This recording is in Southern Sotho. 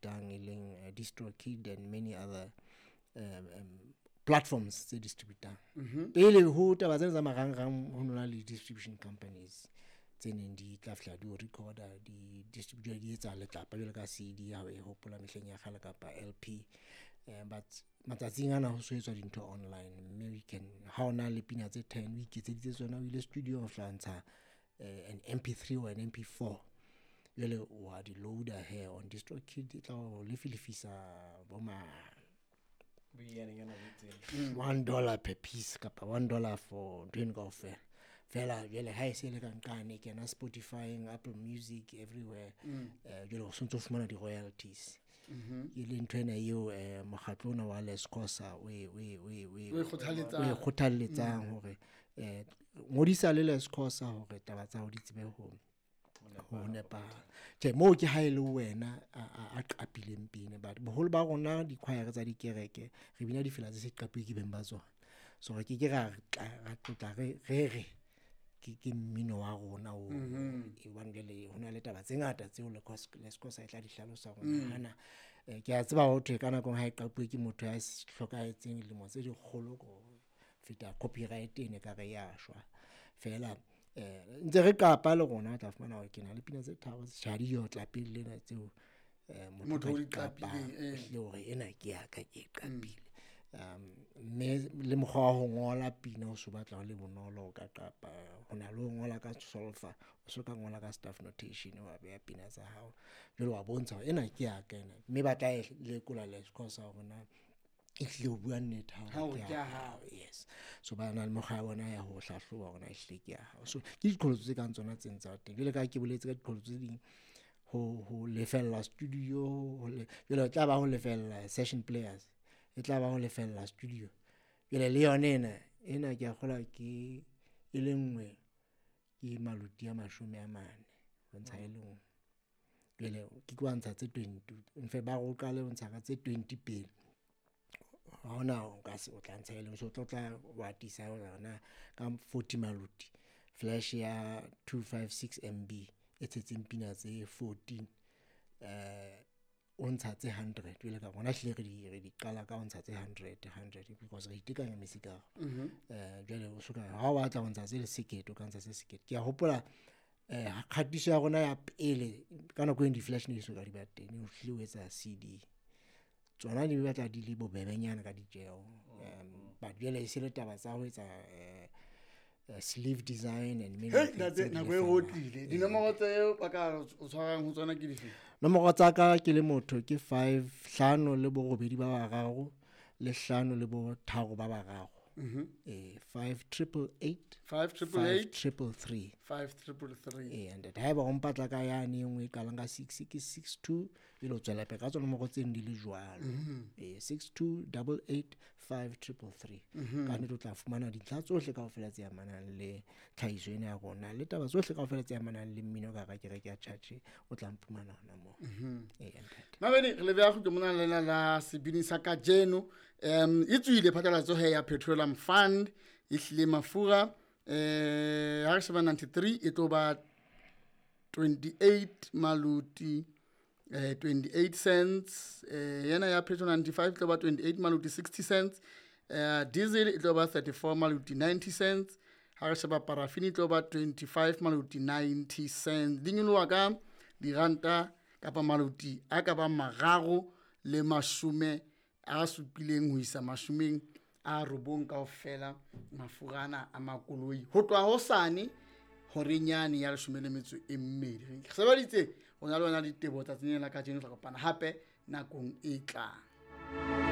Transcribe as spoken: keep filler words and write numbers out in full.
distributang, e leng eh, DistroKid and many other um, um, platforms tse distributang. Pele ho taba tsena tsa marangrang, ho nona le distribution companies tse neng di tla fihla di o recorda, di distribute, di etsa letlapa jwalo ka C D ha o e hopola mehleng ya kgale, kapa L P. eh, but matsatsing ana ho so etswa dintho online, mme we can, ha o na le pina tse ten o iketseditse tsona, o ile studio, o fihla ntsha eh, an M P three or an M P four, jwale wa di loader here on DistroKid, e tla o lefilefisa bo ma Boiyanenyana bo itseng. one dollar per piece kapa one dollar for ntho eno kaofela fela. Jwale ha e se le ka nqane, e kena Spotify, Apple Music, everywhere. eh jwale o sontso o fumana di-royalties, e le ntho ena eo eh mokgatlo ona wa Lescosa o e o e o e o e O e kgothalletsang. O e kgothalletsang hore eh ngodisa le Lescosa hore taba tsa hao di tsebe ho ho nepahala. Tjhe, moo ke ha e le wena a a- a qapileng pina, but boholo ba rona di-choir tsa dikereke re bina difela tse se qapuwe ke beng ba tsona, so re ke ke ra tla- ra tlotla re re re ke ke mmino wa rona o e, hobane jwale ho na le taba tse ngata tseo Lescosa e tla di hlalosa hore hana. eh, ke a tseba ho thwe ka nako e nngwe ha e qapuwe ke motho ya s- hlokahetseng dilemo tse dikgolo ko feta, copyright ene ka re ya shwa fela. eh ntse re qapa le rona, o tla fumana hore ke na le pina tse tharo tjha di yo tla pele lena tseo eh Motho motho o a di di qapang, qapileng, eh. ehlile hore ena ke ya ka, ke e qapile. um mme le mokgwa wa ho ngola pina o so batla ho le bonolo, o ka qapa ho na le ho ngola ka solfa, o so ka ngola ka staff notation, wa beha pina tsa hao, jwale wa bontsha hore ena ke ya ka ena, mme ba tla e lekola Lescosa hore na ehlile o bua nnete ha Ha o o re ke ke ya ya hao. Yes, so ba na le mekgwa ya bona ya ho hlahloba hore na ehlile ke ya hao. So ke diqholotso tse kang tsona tse tsa teng. Jwale ka ha ke boletse ka diqholotso tse ding, ho ho lefella studio, ho le jwale e tla ba ho lefella session players, e tla ba ho lefella studio. Jwale le yona ena ena ke a kgolwa ke e le nngwe ke maluti a mashome a mane ho ntsha e le nngwe. Jwale ke tlo ntsha tse twenty, in fact ba re o qale ho ntsha ka tse twenty pele, ha hona o ka se o tla ntsha e leng, so o tlo tla wa atisa hore na ka forty maluti, flash ya two five six M B e tshetseng pina tse fourteen, eh o ntsha tse hundred. Jwale ka rona hlile re di re di qala ka ho ntsha tse hundred hundred, because re itekanya mesikaro. eh jwale o soka ha o batla ho ntsha tse sekete, o ka ntsha tse sekete. Ke a hopola eh kgatiso ya rona ya pele, ka nako eno di-flash ne di soka di ba teng, o hlile o etsa C D, tsona di batla di le bobebenyana ka ditjeho. um but jwale e se le taba tsa ho etsa eh, eh, sleeve design and many Hei, things ntate, tse di nako e lefellwang. Rotlile dinomoro tseo ba ka o tshwarang ho tsona ke dife? Nomoro tsa ka ke le motho ke five hlano le borobedi ba bararo le hlano le botharo ba bararo, eh five triple eight Five triple five eight triple three. Five triple three. Eh, and haeba o mpatla ka yane e nngwe e qalang ka six, ke six two, jwale o tswela pele ka tsona nomoro tseno di le jwalo. Eh, six two double eight five triple three. Ka nnete o tla fumana dintlha tsohle kaofela tse amanang le tlhahiso ena ya rona le taba tsohle kaofela tse amanang le mmino ka hara kereke ya church, o tla mphumana hona moo. Eh, ntate. Mamedi, re leboha kgutlo mona lena la sebini sa kajeno. um e tswile phatlalatso he ya petroleum fund, e hlile mafura eh ha re sheba ninety-three e tlo ba twenty-eight maluti eh twenty-eight cents, eh yena ya petrol ninety-five e tlo ba twenty-eight maluti sixty cents, eh diesel e tlo ba thirty-four maluti ninety cents, ha re sheba paraffin e tlo ba twenty-five maluti ninety cents. Di nyoloha ka diranta kapa maluti a ka bang mararo le mashome a supileng ho isa mashomeng a robong kaofela mafura ana a makoloi ho tloha hosane horeng yane ya leshome le metso e mmedi. Re sebeditse ho na le yona ditebo tsatsing lena la kajeno. Tla kopana hape nakong e tlang.